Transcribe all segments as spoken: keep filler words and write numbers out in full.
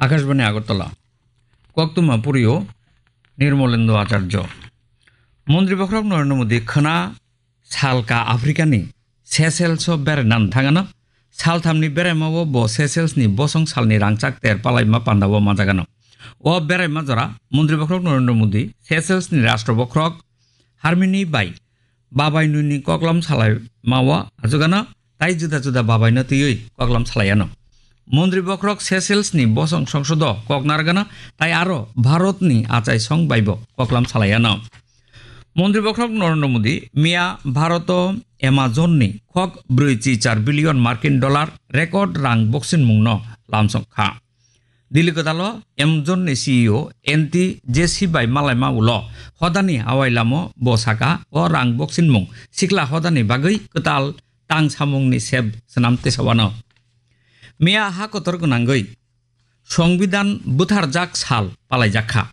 Akashbani Agartala. Koktwma purio Nirmolendo Acharjo. Montri bokhorok Narendra Modi khwna salka Africani Seychelles o beraina thangano. Salthamni beraimao bo Seychelles ni bosong salni rangchak ter palaima pandao manjagano. O beraima jora Montri bokhorok Narendra Modi Seychelles ni Rashtra bokhorok Harmini bai babai nuni koklam salaimao achugano tai juda juda babaino twiwi koklam salaiano. Montri bokhorok Seychelles ni bosong songsodo kok nargano tai aro Bharat ni achai song baibo koklam salaiano. Montri bokhorok Narendra Modi miya Bharat o Amazon ni khok brwi chi char billion Markin dollar record rang boksin mungno lamsong kha. Delhi kwtal o Amazon ni C E O Andy Jassy bai malaima ulo hodani awai lamo bo saka o rang boksin mung sikla hodani bagwi kwtal tang samung ni sep swnam tisawano. Miya ha kotor gwnangwi Songbidan butharjak sal palaijak kha.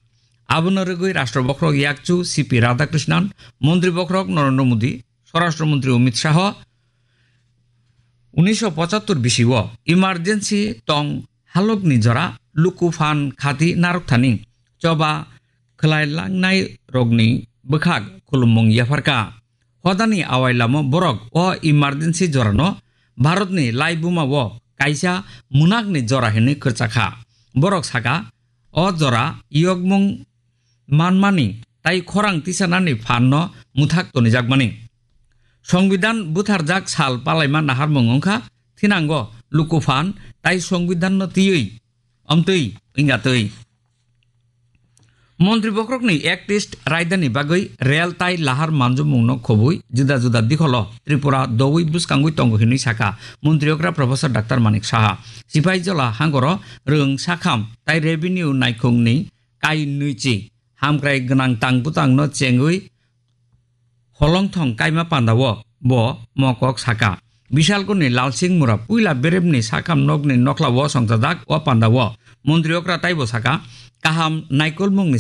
Abono rwgwi Rashtra bokhorok yakchu C P Radhakrishnan, Montri bokhorok Narendra Modi, Swarashtra Montri Amit Shah, unisho pochattor bisio emergency tong halokni jora luku phan khati narwkthani choba khwlai langnai rokni bwkhak khulumung yapharkha. Hodani awai lamo borok o emergency jorano Bharatni laibuma o kaisa munakni jora hinwi kwrwchakha. Borok saka, o jora yokmung manmani tai khorang tisanani phanno muthak tonijakmani. Songbidan butharjak sal palaima naharmung wngkha thinango luku phan tai songbidanno twiwi omtwi wngya twi. Montri bokhorokni Act East raidani bagwi rel tai lahar manjumungno khobwi juda juda dikholo Tripura doui bwskangwi tongo hinwi saka Montri okra Professor Doctor Manik Saha. Sipai jola hangoro rwng sakham tai revenue naikhungni kai nwichi hamkrai gwnang tang bwtangno chengwi holongthong kaima pandao bo mokok saka. Bishalkuni Lalsing Mura puila beremni sakham nokni nokhlao songchajak o pandao. Montri okra taibo saka, kaham naikolmungni